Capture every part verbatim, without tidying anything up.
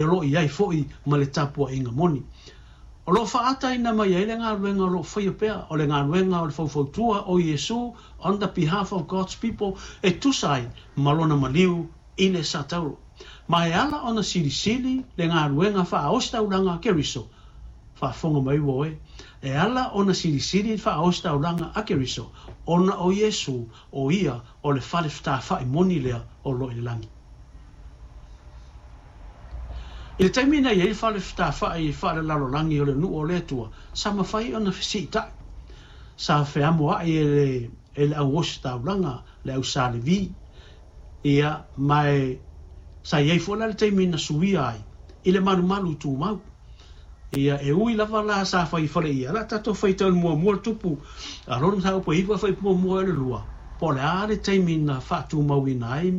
O lo o i ai foi ma le tapuaiga moni. O lo o faaataina mai ai le galuega o lo o faia pea, o le galuega o le faufautua o Iesu on the behalf of God's people e tusa ai ma lona maliu i le Satauro. Ma e ala ona silisili le galuega faaositaulaga a Keriso, faafofoga mai ua oe, e ala ona silisili le faaositaulaga a Keriso, ona o Iesu o ia o le fale fetafa'i moni lea o lo o i le lagi. I le taimi na i ai le fale fetafa'i faalelalolagi o le nuu o le Atua, sa mafai ona fesiita'i. Sa feamoa'i e le, e le au ositaulaga, le au Sa Levi. Ia, ma e, sa i ai foi la le taimi na suia ai i le malumalu tumau. Ia, e ui lava la sa fai fale ia, la tatou faitau i le muamua le tupu, a lona mataupu e iva fai muamua i le lua, po o le a le taimi na faatumauina ai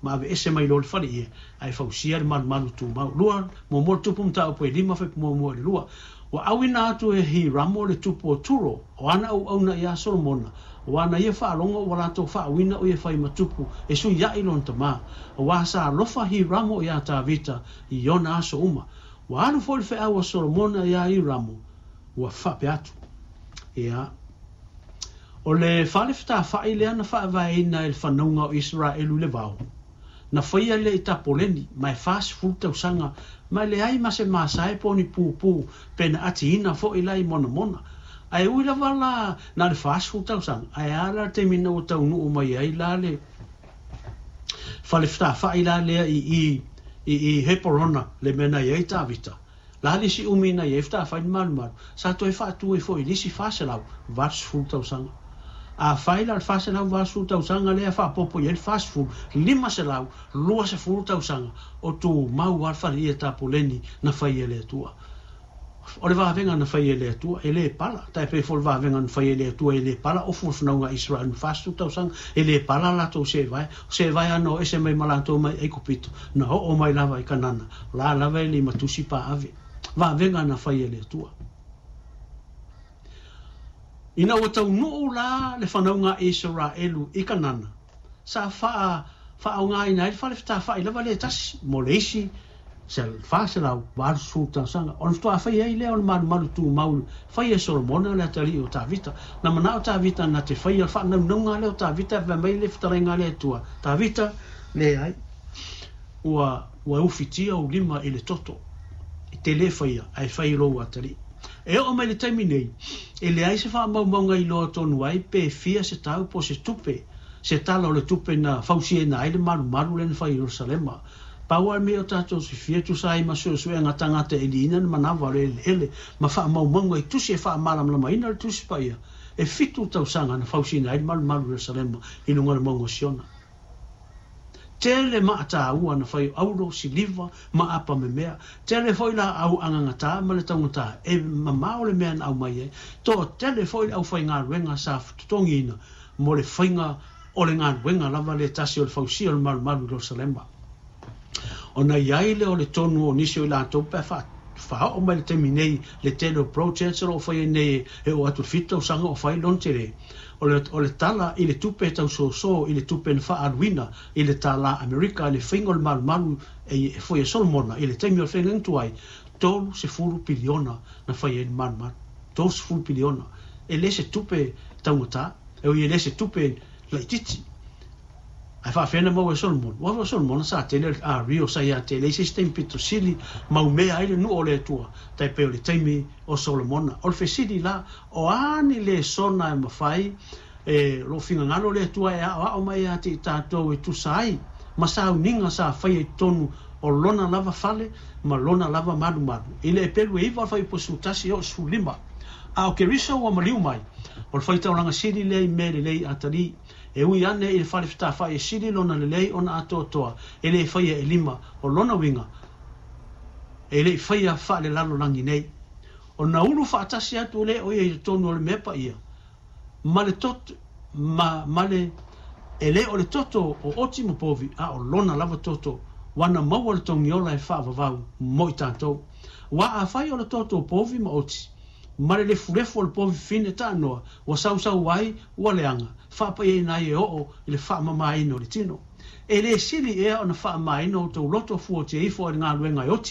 ma aveese mai loa le fale ia, ae fausia le malumalu tumau. Lua, muamua le tupu mataupu e lima fai muamua i le lua. Ua auina atu e Hiramo le tupu o Turo, o ana auauna iā Solomona, o ana ia faalogo ua latou faauina o ia fai ma tupu e suiaʻi lona tamā, auā sa alofa Hiramo iā Tavita i ona aso uma. Ua alu foi le feau a Solomona iā Hiramo, ua faapea atu, Ia, o le fale fetafaʻi lea na faavaeina e le fanauga o Iseraelu i le vao, na faia lea i Tapoleni, ma e fasefulu tausaga, ma e leai ma se masae po o ni pupū pe na atiina foi la i monamona. Ae ui lava la na o le fasefulu tausaga, ae a la le taimi na ua taunuu mai ai la le fale fetafaʻi la lea i i i i Heporona, le mea na i ai Tavita. La le isi umi na i ai fetafai le malumalu, sa toe faatu ai foi i le isi fa selau valu sefulu tausaga. Afai la o le fa selau valu sefulu tausaga lea e faaopoopo i ai le fa sefulu, lima selau lua sefulu tausaga o tumau lava le faleia tapoleni na fai e le Atua. O le vavega na fai e le Atua, e le pala. Tai pei foi o le vavega na fai e le Atua, e le pala ofu o le fanauga a Israel ma fasefulu tausaga, e le pala latou seevae. O seevae ana o ese mai ma latou mai Aikupito, na oo mai lava i Kanana, o la lava e le i matusi paave. Vavega na fai e le Atua. Ina ua taunuu la le fanauga a Isaraelu i Kanana, sa faa, faaaogaina ai le fale fetafa'i lava lea e tasi mo le isi fa selau valu sefulu tausaga. Ona faatoa faia ai lea o le malumalu tumau faia e Solomona le atalii o Tavita. Na manao Tavita na te faia le faanaunauga lea o Tavita, fai mai le fetalaiga a le Atua, Tavita, leai, ua, ua ufitia ou lima i le toto, e te le faia, ae fai i lou atalii. E oo mai le taimi nei, e leai se faamaumauga iloa tonu ai pe fia se tau po o se tupe, se tala o le tupe na fausiaina ai le malumalu lea na fai i Ierusalema. Pau lava le mea o tatou sifia e tusa ai ma suesuega tagata e liina le manava o le eleele ma faamaumauga i tusi e faamalamalamaina le Tusi Paia, e fitu tausaga na fausiaina ai le malumalu i Ierusalema i luga o le mauga o Siona. Tele maataua na fai o auro, siliva, ma apa memea. Tele foi laau agagatā ma le taugatā e mamao le mea na aumai ai. Toatele foi le aufaigaluega sa totogiina mo le faiga o le galuega lava lea tasi o le fausia o le malumalu i Ierusalema. Ona i ai lea o le tonu o nisi o i latou pe a faaoo mai le taimi nei le tele o projects o lo o faia nei e oo atu i le fitu tausaga o fai lona tele. O le, o le tala i le tupe e tausoso i le tupe na faaaluina i le tālā Amerika i le faiga o le malumalu e, e foi a Solomona i le taimi o le faiga tuai, tolu sefulu piliona na fai ai le malumalu. Tolu sefulu piliona. E le se tupe taugata, e ui e le se tupe laititi. Ae faafefea na maua e Solomona? Ua o Solomona sa tele a Rio sa ia te leai se isi taimi pito sili mau mea ai le nuu o le Atua, tai pei o le taimi o Solomona. O le fesili la, o a ni lesona e mafai e lou finagalo le Atua e aoao mai ia te i tatou e tusa ai ma sauniga sa faia i totonu o lona lava fale ma lona lava malumalu. I le epelu e iva o le fuaiupu e sefulu tasi e oo sefulu lima. A o Keriso ua maliu mai, o le faitaulaga sili lea i mea lelei atalii. E ui ane i le fale fetafaʻi e sili lona lelei ona atoatoa, e le faia e lima, o lona uiga, e le i faia faalelalolagi nei. Ona ulu faatasi atu lea o ia i totonu o le mea paia, ma le toto, ma, ma le, e le o le toto o oti ma povi, a o lona lava toto, ua na maua le togiola e faavavau mo i tatou. Ua afai o le toto o povi ma oti, ma le lefulefu o le povi fine taanoa, ua sausau ai, ua leaga, faapaiaina ai e oo i le faamamaina o le tino. E le sili ea ona faamamaina o outou loto fuatia ifo i le galuega e oti